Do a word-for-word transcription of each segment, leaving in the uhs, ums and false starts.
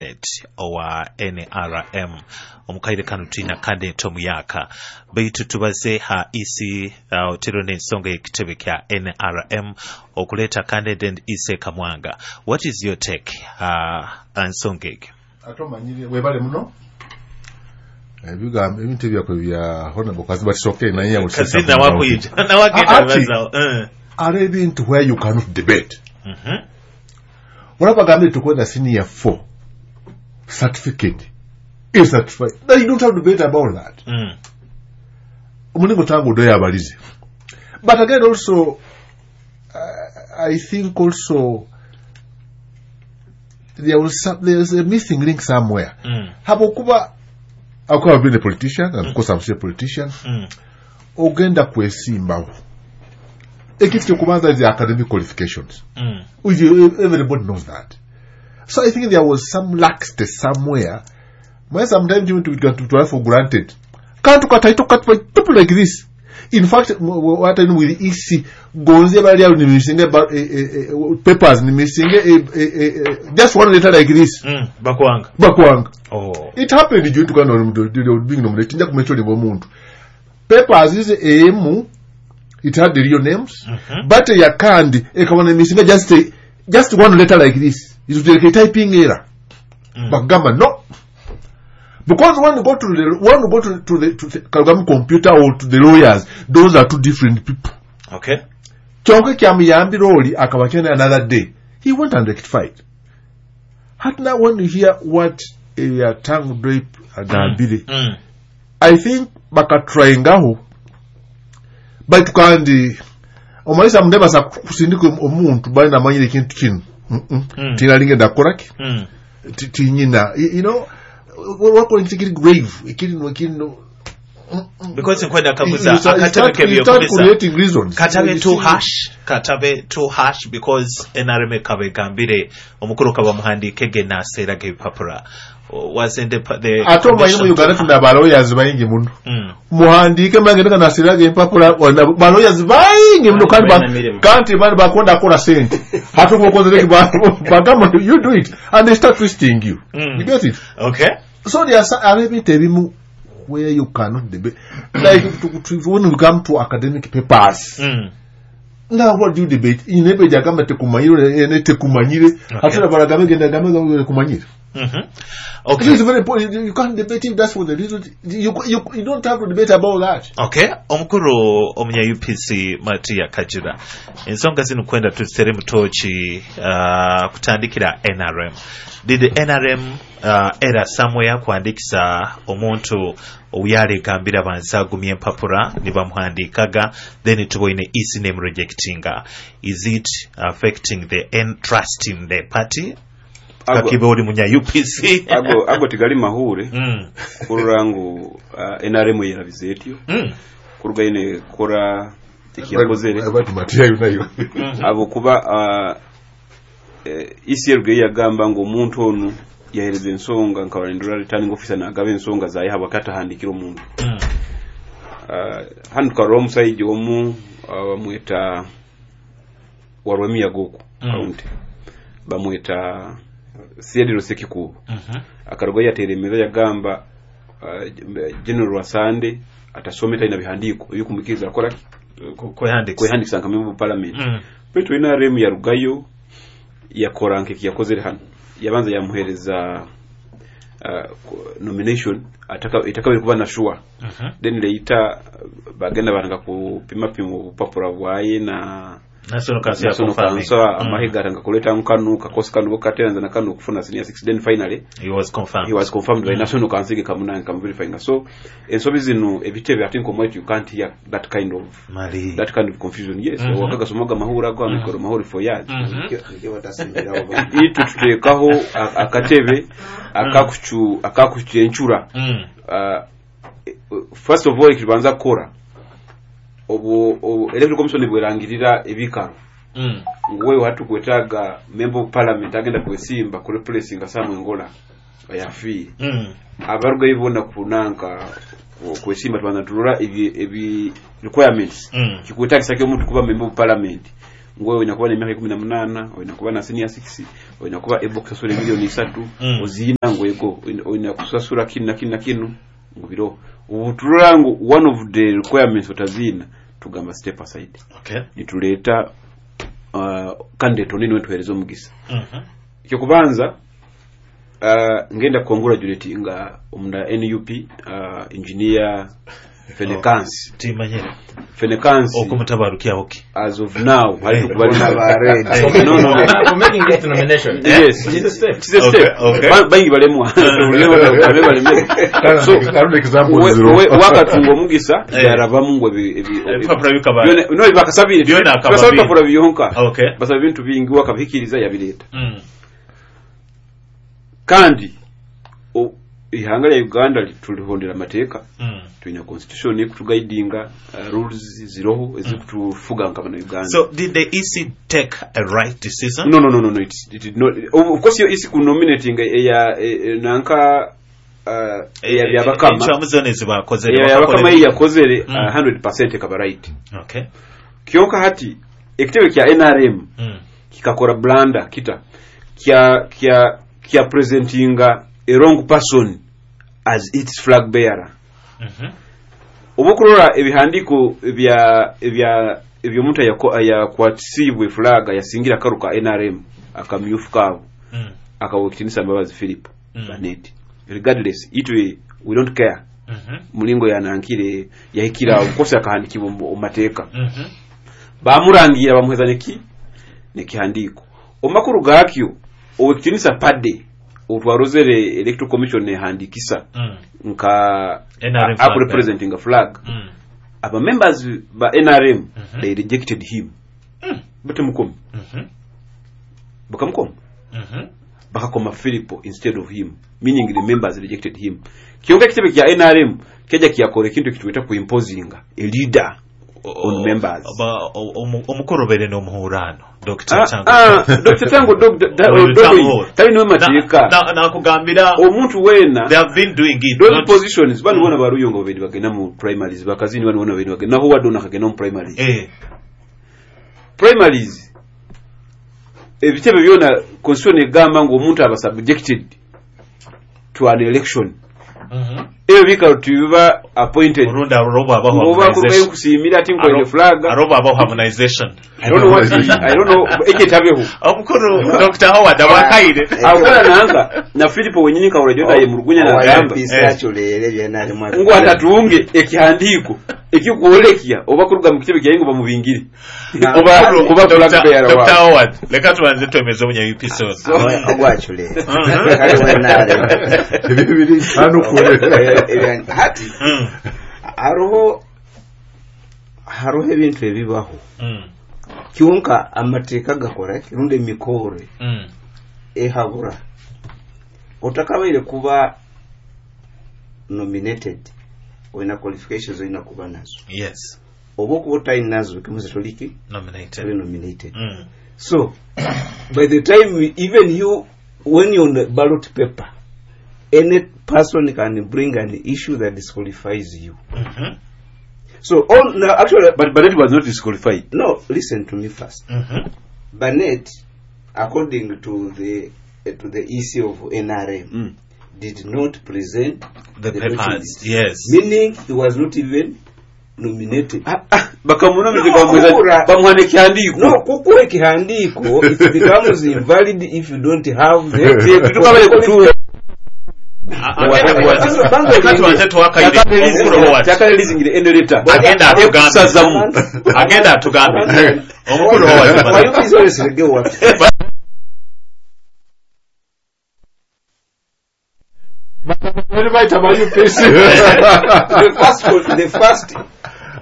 Owa N R M omukaire kano twina candidate omuyaka, baitu tubaze ha E C uh, otero n'ensonga y'ekitebe kya N R M okuleeta candidate E C Kamwanga. What is your take uh, ensonga egyo? Ate omanyire, webale muno ebigambo ebintu ebyakwe bya Honorable Kaziba kisoke naye. Kazina wakwija nawagenda. Ati- Bibazaho. Eh. Ari ebintu where you cannot debate. Mhm. Olaba bagambye tukwenda senior four certificate is certified. Now you don't have to debate about that. Mm. Omulingo tangu odoyo abalize, but again also uh, I think also there was some, there's a missing link somewhere, Mm. habwokuba akuba been a politician, and of course I'm still a politician. Mm. Ogenda kwesimbawo, ekintu kyokubanza is the academic qualifications, Mm. which you- everybody knows that. So I think there was some laxity somewhere where sometimes you to to for granted kantu kataito katupu like this. In fact, m- w- what I know with E C gonze bali awo nimisinge ba- eh, eh, eh, papers nimisinge eh, eh, eh, eh, just one letter like this. Mm. bakwanga Bakwanga. Oh. It happened during to being nominated. Nja kumentioning omuntu, papers is emu, it had the real names, Mhm. but yakandi ekabona emisinga just a, just one letter like this. It was like a typing error. Mm. Bakugamba no, because when you go to the when you go to, to the, to the Kalugamu computer or to the lawyers, those are two different people. Okay kyonka kyamuyambira oli akaba kyenda another day he went and rectified. Hati now when you hear what uh, Tang Drape agambire, Mm. I think bakatryingaho, baitu kandi omalisa mundebasa kusindika omuntu bali namanyire ekintu kino. Mm-mm. Mm. Tinalinga ndakoraki. Mm. Ti- tinyina you you know wakola ekintu ekiri grave, ekiri ekiri Because nkwenda kaguza akatebe kebyokulisa creating reasons. Katabe too harsh, katabe too harsh, because N R M ekaba egambire omukulu kaba muhandiike naseeraga ebipapula. Wasn't the, the Ate omanyi mu Uganda tuna balawyers bayingi muno. mm. Muhandiike magenda kanasiraga empapula, balawyers bayingi muno kandi ba- Balina mirimu. kandi bani bakonda akola sente ate omukozere bagamba you do it and they start twisting you. Mm. You get it? Okay. So there are some- are ebintu ebimu where you cannot debate, like to, to, when we come to academic papers. mm. Now what do you debate? Inebe jagamba tekumanyire ene tekumanyire, ate balagambe genda gambe tekumanyire. mm -hmm. okay It is very important. You can't debate if that's for the reason. You, you, you don't have to debate about that. Okay, omukulu omunya U P C Matia Kajira, ensonga zino kwenda tuzitere mutoki uh, kutandikira N R M. Did the N R M uh, era somewhere kuhandikisa omuntu oyali egambira bansi agumya empapula ne bamuhandikaga, then tuboine E C name rejectinga? Is it affecting the n trust in the party? Ago- kakibe oli munya U P C. ago ago tigali mahure mm. kurora ngu uh, N R M yerabize etyo mm. kuruga ine kora ekiyakozere. Bati Matia yunayo. Abo kuba uh, eh, E C yagamba ngu omuntu onu yahereza ensonga nkaba ndora returning officer nagaba ensonga zaye habwa katahandikira omuntu. Mm. uh, hano tukarora omusaija omu uh, bamweta warwemiyaga oku Mm. county, bamweta Siediro Sekikubo. Mm -hmm. Akaruga yateera emeza yagamba uh, General Rwasande atasome, talina bihandiiko ebikumukiriza akora kwehandikisa. Kwehandikisa nka member of parliament. mm. Baitu N R M yarugayo yakora nkeki yakozere hano, yabanza yamuhereza uh, nomination ataka itakabiri kuba na sure. mm -hmm. Then later bagenda baranga kupima pima obupapura bwaye na National Council National confirming. Council, amahiga atanga kuleta nkanu kakosi kanu kateranza na kanu kufuna senior six, then finally He was confirmed. He was confirmed by Mm. National Council kamunange kamuverifying. So ensobi zino ebitebe ate nkomwetu you can't hear that kind of Mali. that kind of confusion, yes. Mhm. Wakaga mahura ago amikoro mahuri for years. Mhm. Nikyo batasimbirawo. Itwe tuteekaho a- akatebe akakucu akakucencura. Mm. uh, first of all, ekibanza kukora obu obu Electoral Commission bwerangirira ebikaro Mm. nguwe hatukwetaaga member of parliament agenda kwesimba ku replacinga Samuel Ngola yafiire. Mm. Abarugayo bona kunanka ku- kwesimba tubanza turora ebi, ebi requirements Mm. kikwetagisa ki omuntu kuba member of parliament. Ngwe olina kuba n'emyaka ikumi na munaana, olina kuba na senior six, olina kuba able kusasula emiliyoni isatu. Mm. Oziina ngu ego olina- olina kusasula kinu na kinu na kinu ngu biro obuturora ngu one of the requirements otaziina, tugamba step aside. Okay. Nituleeta uh, candidate oni niwe tuheereza omugisa. Mhm. Ekyokubanza, uh, ngenda congratulate nga omunda N U P, uh, engineer Fenekansi. Timanyire. Fenekansi. Okumutabarukyaho ki? As of now hali Eh. tukubali. Ba red. Eh. No, no, no. For making this nomination. Yes. It's a step. It's a step. Okay, okay. Ba- bangi balemwa. Babe balemere. So Karudi example we- zero. we- wakatunga omugisa Eh. yarabamu ngu ebi- ebi- Ebipapula bikaba- byona- no, bakasabire. Byona akaba Basaba bingi. ebipapula byonka. Okay. Basaba ebintu bingi, wakabihikiriza yabireeta. Mm. Kandi o- ihanga lya Uganda li- tulihondera amateeka. Mm. Tulina constitution ekutuguidinga, uh, rules ziroho ezikutufuga nka bana Uganda. So did the E C take a right decision? no no no no no it, it did not. of of course yo isi ku nominating eya e- e- nanka uh, eya Byabakama. Encwamu zona ezibakozere. Eya Byabakama eyi yakozere Mm. uh, one hundred percent ekaba right. Okay. Kyonka hati ekitebe kya N R M Mm. kikakora blunder kita kya kya kya presentinga a wrong person as its flag bearer. Mhm. Oba okurora ebihandiko ebya ebya ebyomuntu ayako- ayakwatisiibwe flag yasingira akaru ka N R M akamyufu kaabo, Mm. akawa ekitinisa Mbabazi Philip Mm. Banet. Regardless, itwe we don't care. Mhm. Mulingo yanankire yahikira obukosi akahandikibwa omu omu mateeka. Mhm. Bamurangira bamuheza neki nekihandiko omakuru gakyo owekitinisa pade otwarozere Electoral Commission ehandikisa Mm. nka N R M aku flag representing a flag. Mm. Aba members ba N R M, Mhm. they rejected him. Mm. Batemukoma. Mhm. Bakamukoma. Mhm. Bakakoma Philipo instead of him, meaning the members rejected him. Kyonka ekitebe kya N R M kyaja kyakora ekintu ekitweta ku imposinga a leader on members. Ba- o- omu- omukorobere n'omuhurano Doctor Ah, Tango. ah, Doctor Tango Dog- da- Oyo Dog- Tango. tali niwe mateeka. Na- na- nakugambira Omuntu weena they have been doing it those not- positions bano bona baruyonga babiri bagenda mu primaries, bakazini bano bona babiri bagenda naho wadde ono akagenda mu primaries. Eh. Primaries, ebitebe byona constitution egamba ngu omuntu aba subjected to an election. Mhm. Ebyo bikalo tibiba appointed. Olundi alobo abaho Oba harmonization. nkusiimira ati nkoine Aro- flag. Alobo abaho harmonization. I don't know what I don't know ekyetabeho. Omukuru Doctor Howard abakaire. Akola nanka na Philipo wenyini kawula jona ye murugunya nagamba Eh. Aculere byenalimu. Ngu atatunge ekihandiiko ekikwolekya oba kuruga mu kitebe kyaye ngo bamubingire oba Omukuru kuba flag Doctor bearer Doctor waabwe. Howard, leka tubanze twemeze omunya U P C ono. Ogwaculere Mhm. kale wenaremu. Ebyo biri hano kure. Hati Mm. hariho hariho ebintu ebibaho. Mm. Kyonka amateeka gakora rundi emikoro Mm. ehabura otakabaire kuba nominated olina qualifications olina kuba nazo. Yes. Oba okuba otalinazo kimuze toliki Nominated. toli nominated. Mm. So by the time we, even you, when you're on the ballot paper, any person can bring an issue that disqualifies you. Mhm. So on now actually But Barrett was not disqualified. No, listen to me first. Mhm. Barnett, according to the uh, to the E C of N R M, Mm. did not present The the papers. documents. Yes. Meaning he was not even nominated. Ah, ah, bakamunominate. No, bamuweza- kukura. Bamuwa n'ekihandiiko. No, kukuwa ekihandiiko, it becomes invalid if you don't have the Tetukabaire kutuula. Leka tubanze tuwakaire omukuru Howard. Takalelizingire eno letter. Agenda atugambe. Ekusazamu. Agenda atugambe omukuru Howard. Wayubizoleserege wati. Bali bayita ba U P C. The first, the first,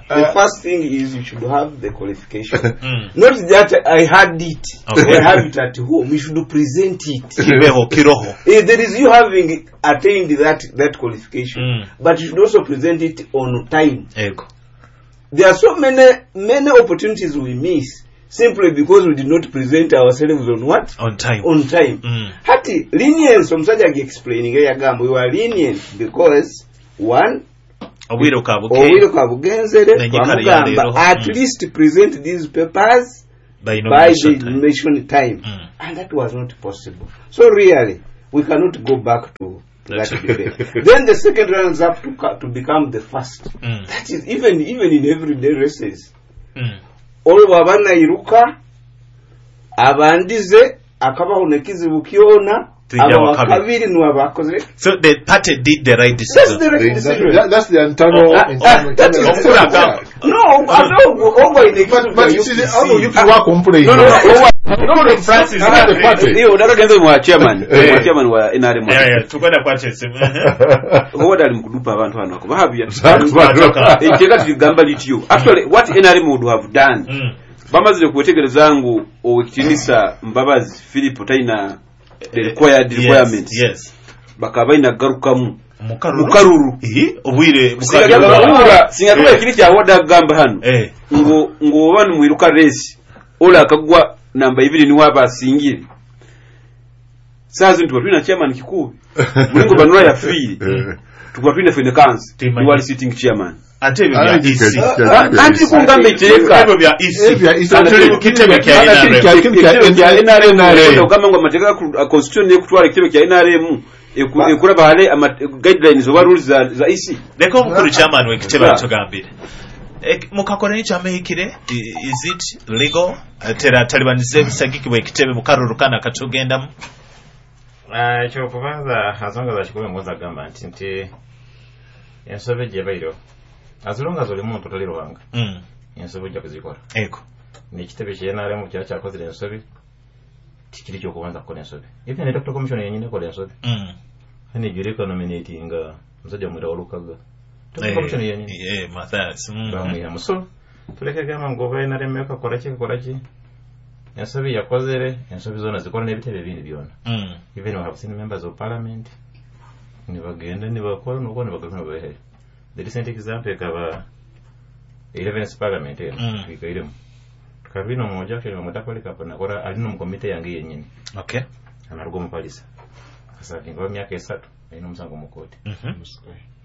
the first thing is you should have the qualification. Mm. Not that I had it. Okay. I have it at home. You should present it. Kibeho kiroho. Eh, there is you having attained that that qualification, Mm. but you should also present it on time. Ego. There are so many many opportunities we miss simply because we did not present ourselves on what? On time. On time. Mm. Hati lenience omusajja agiexplaining yagamba we were lenient because one, Obwire bwa obwire buke. kwa bugenzere Nenyikara twamugamba yaleero. at Mm. least present these papers. By by nomination the time. nomination time. Mm. And that was not possible. So really, we cannot go back to that debate. Then the second runs up to, ca- to become the first. Mm. That is even even in everyday races. Mm. Olwo bw'aba nairuka abandize akabaho nekizibu kyona Tujja aba wakabiri. wakabiri niwe abakoze. So the party did the right That's decision. the right decision. That, that's the internal. Ah, internal, ah, that is internal- Okulaga. No, ate ogwo ogwo ayina But, ekizibu but kya you see, U P C. how do you people complain? No, no, no. No, no, Francis. Not the party. Iyo odakagenze mwa chairman Eh. mwa chairman wa N R M. Yeah, yeah, tugenda kwata esimu. Howard ali mukudupa abantu hano akubahabya. Twatoka. Ekiteeka tugamba lityo. Actually, what N R M would have done, Mm. bamazire kwetegereza ngu owekitinisa Mbabazi Philip talina the required Yes, requirements, yes. bakaba balina kugarukamu Mukaruru. mukaruru. Eh, obwire Singa bukaruru. kuba- singa kuba Eh. ekiri kya Howard agamba hano Eh. ngo ngo oba nimwiruka race ola akagwa namba ibiri niwe aba asingire, saa zino tuba tulina chairman Kikubi mulingo banula yafiire, tukuba tulina Fenekansi Timanyi. niwe ali sitting chairman. Ate ebyo bya Ah, E C. ah, Anti kungamba ekiteeka Ebyo bya E C. Ebyo bya E C. Tuli mu kitebe kya N R M. Ekitebe kya N R M, N R M. ogamba ngu amateeka ga constitution nekutwala ekitebe kya N R M eku- Ba- ekulaba hale ama- guidelines oba rules za za E C. Leka omukulu chairman w'ekitebe Yeah. atugambire. Ek- mukakora ekyamehikire, i- is it legal? Tera talibanize ebisagikibwa ekitebe mukaruru kana katugendamu. Ah, ekyokubanza ensonga za kikumi ngonza kugamba nti nti ensobi gyebaireho, as long as oli muntu toli Ruhanga, Mm. ensobi ojja kuzikora. Ego. Nekitebe kya N R M kyaba kyakozere ensobi, tikiri kyokubanza kukola ensobi. Even electoral commission yenyini ekola ensobi. Mm. Hanijureka nominatinga musajja mwira walukaga. Eh, Commission yenyini eh, Mathias. Mm. bamwihamu. So tuleke gamba ngu oba N R M ekakola ki ekola ki, ensobi yakozere, ensobi zona zikora n'ebitebe ebindi byona. Mm. Even we have seen members of parliament nibagenda nibakora nuko nibagaruka nibabehere. The recent example ekaba eleventh parliament eno Mm. twikairemu tukabina omuja actually bamweta Polycarp, nakora ali no mukomite yange yenyini. Okay. Anaruga omupalisa akasavinga ba myaka esatu alina omusango mu kooti. Mhm.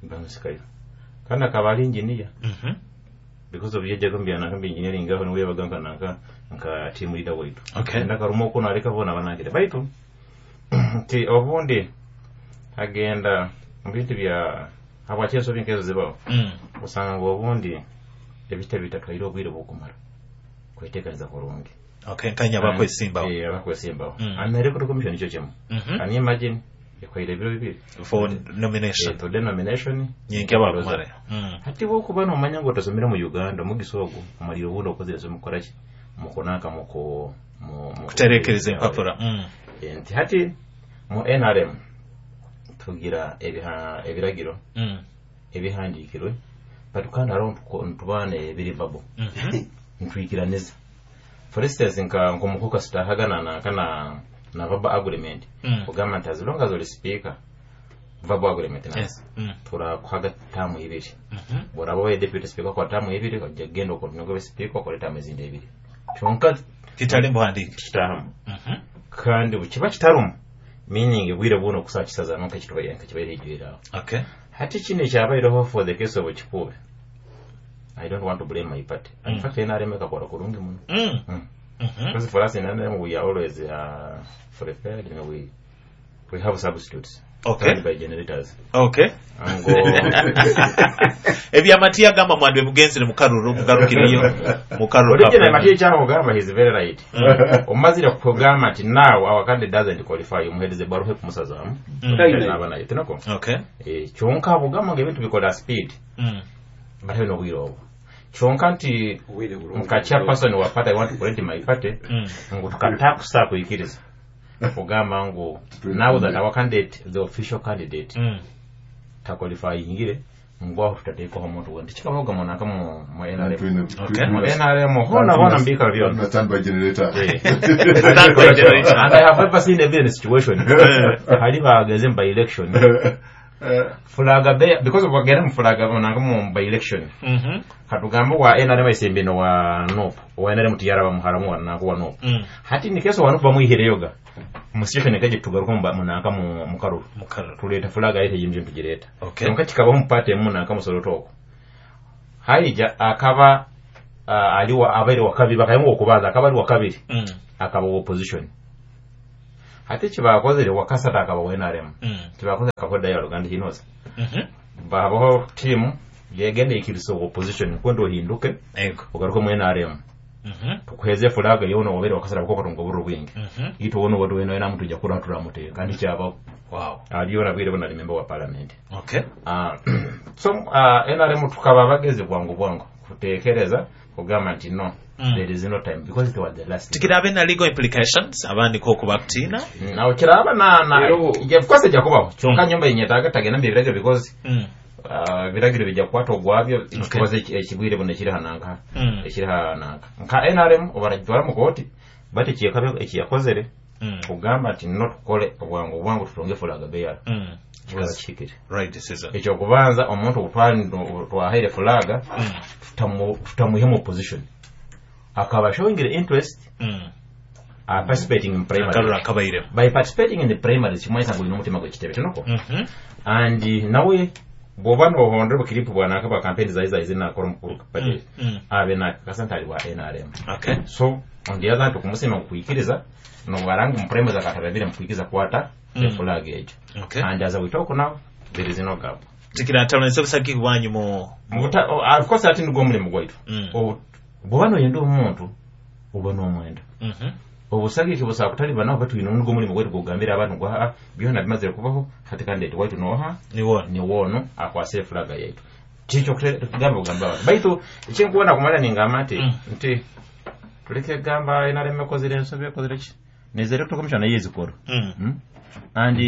Bamusikayo kandi akaba ali engineer Mhm. because of yejjaga mubyanaka mbi engineering aho niwe yabaga nka nanka nka team leader waitu. Okay. Enda karuma okuno aleka bona banakire baitu nti obundi agenda mu bintu bya habwaki ensobi nkezo zibaho. Mm. Osanga ngu obundi ebitebe bitatwaire obwire bwokumara kweteekaniza kurungi. Okay, nkanya bakwesimbawo. Eh, abakwesimbawo. Mm. And electoral commission nikyo kimu. Mhm. Can you imagine ekwaire ebiro bibiri For nomination. Eh, tode nomination. Nyenke bakumare. Mm. Hati wokuba nomanya ngu otasomere mu Uganda omugisa ogwo omalire obundi okozere ensobi mukukoraki mukunanka muku mu- mu- Kuterekereza empapura. Mm. Eh, nti hati mu N R M tugira ebiha- ebiragiro Mm. ebihandikirwe, but kandi hariho ntuko- ntubaana ebiri babo Mhm. ntwikiraniza. For instance, nka nkomukuka sitahagana nanka na na verbal agreement Mm. kugamba nti as long as oli speaker, verbal agreement na Yes. Mm. turakuhaga tamu ibiri. Mhm. Bworaba obaye deputy speaker kwa tamu ibiri, ojja kugenda okontinue obe speaker okole tamu ezindi ebiri, kyonka Kitali mbuhandike. Kitahamu. Mhm. Kandi bwekiba kitarumu, meaning bwire buno okusaa kisazamu nkakibaire nkakibaire ejwire aho. Okay. Hati kino ekyabaireho for the case of Kikuube, I don't want to blame my party. In Mm. fact, N R M ekakora kurungi muno. Mm. Mm. Mhm. Because for us in N R M, we are always uh, prepared and we we have substitutes Okay. powered by generators. Okay. Ango Ebyamati agamba mwandwe mugenzere mukaruru mugarukireyo mukaruru. Original Matiya kyakugamba he's very right. Mm. Omazire kugamba nti now our candidate doesn't qualify, omuheereza ebbaluha ekumusazaamu. Mm. Naaba naye tinako. Okay. Eh, kyonka bugamba nga ebintu bikola speed Mm. batabe n'obwire obwo, kyonka nti Obwire bulungi. nka chairperson wa party, I want to correct my party Mm. ngu tukatakusa kuyikiriza kugamba ngu now that our candidate, the official candidate, Mm. taqualifyingire, ngu aho tutateekaho omuntu we nti kikabaga munanka mu mu N R M. Okay. Mu N R M hona hona mbikalo byona. Stand by generator. Eh. Stand by generator. And I have ever seen a villain situation hali bageze mu by election flag bearer, because bagenda mu flag nanka mu by election. Mhm. Katugambe wa N R M esembeno wa N U P, wa N R M tiyaraba muharamu wa nanka wa N U P. Mm. Hati nikeso wa N U P bamwihireyoga mu situation ekaje tugaruka mu munanka mu mukaruru Mukaruru. Tuleeta flag ayite yimje tugireeta. Okay. Kyonka kikabaho mu party emu nanka musolo toko haija akaba uh, ali wa abaire wakabiri bakayonga okubanza akaba ali wakabiri Mm. akaba wa opposition ate kibakozere wakasatu akaba wa N R M. Mm. Kibakoze akakoda dialogue and he knows. Mhm. Babaho team yegenda ikiriza opposition kwenda ohinduke Ego. ogaruke mu N R M, Mhm. tukuheze flag yono wabere wakasara bukoko tungo buru bwingi. Mhm. Ito wono wadu weno ena mtu jakura turamute kandi kyabaho. Wow. Aliyo nabwire bona ali member wa parliament. Okay. Uh, so uh, N R M tukaba bagezi bwangu bwangu kutekereza kugamba nti no, Mm. there is no time because it was the last. Tikirabe na legal implications abandi ko kubakutiina. Nawe kiraba na na Ero- yeah, of course ejja kubaho kyonka Mm. nyumba yenyetaaga tagenda mu biragiro because Mm. uh, biragiro bijja kukwata ogwabyo ekikoze ekigwire buno ekiri hananka Mm. ekiri hananka nka N R M obaragitwara mu kooti but ekiyakabe ekiyakozere Mm. kugamba nti no tukole obwangu obwangu tutonge flag bearer Mm. kikaba kihikire. Right decision. Ekyokubanza omuntu obutwali- twahaire flag Mm. tutamu- tutamuhe mu opposition akaba showing the interest, Mm. uh, participating in Akarura primary. akabairemu. By participating in the primaries kimanyisa ngu olina omutima gw'ekitebe tinoko. Mhm. And nawe bw'oba nohondera obukiripu bwanaka bwa campaign zai zai zinakora omukuru Mm. Mm. abe nakakasa nti ali wa N R M. Okay. So on the other hand okumusima nkukwikiriza nobaranga mu primaries akatababire mukwikiriza kwata Mm. eflag egyo. Okay. And as we talk now there is no gap. Tikiratalonese busagiki bwanyu mu Mubuta- oh, of course ati nigwo omulimu gwaitu. Mm. Obu- bw'oba noyenda omuntu oba n'omwenda Mhm. obusagiki busobola kutaliba naho batwine nigwo omulimu gwaitu gwogambira abantu ngu aa byona bimazire kubaho hati candidate waitu noha Niwona. niwoono akwase efulaga yaitu kikyo kugamba kugamba abantu baitu ekinkuwona kumala ningamba nti Mm. nti tuleke gamba N R M ekozere ensobi ekozere ki neza electoral commission nayo ezikora. Mm. Mm? And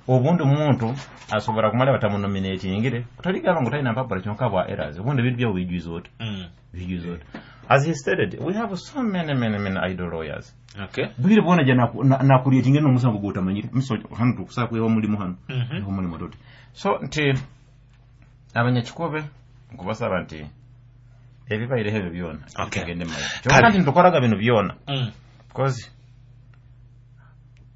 obundi omuntu asobora kumala batamunominatingire kutaligamba ngu talina mpapura kyonka bwa errors obundi ebintu byabo bijwiza oti Mm. bijwiza oti. As he stated, we have so many many many idle lawyers. Okay. Bwire bwona ja nakuretinga n'omusango gwotamanyire miso hano tukusaa kwewa mulimu hano Mhm. niho mulimu tuti so nti abanyakikobe nkubasaba nti ebibaireho ebyo byona Okay. tugende mu maiso Kale. kyonka nti nitukoraga bino byona Mm. because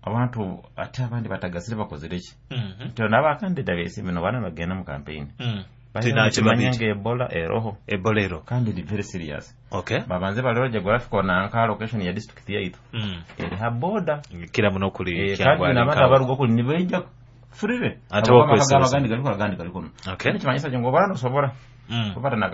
abantu ate abandi batagasire bakozere ki Mhm. nti n'abakandida besi bino bana bagenda mu campaign Mm. Tinakibabiri. nga ebola eroho. Ebolero. Kandi eri very serious. Okay. Babanze balore geographical nanka location ya district yaitu Mm. eri ha border. Kira muno kuli Eh, kandi Kyangwali n'abantu nkawo. abaruga kuli nibaija freely. Ate okwesereza. Agandi galiko agandi galiko. Okay. Kimanyisa ngu obara nosobora Mm. kubata na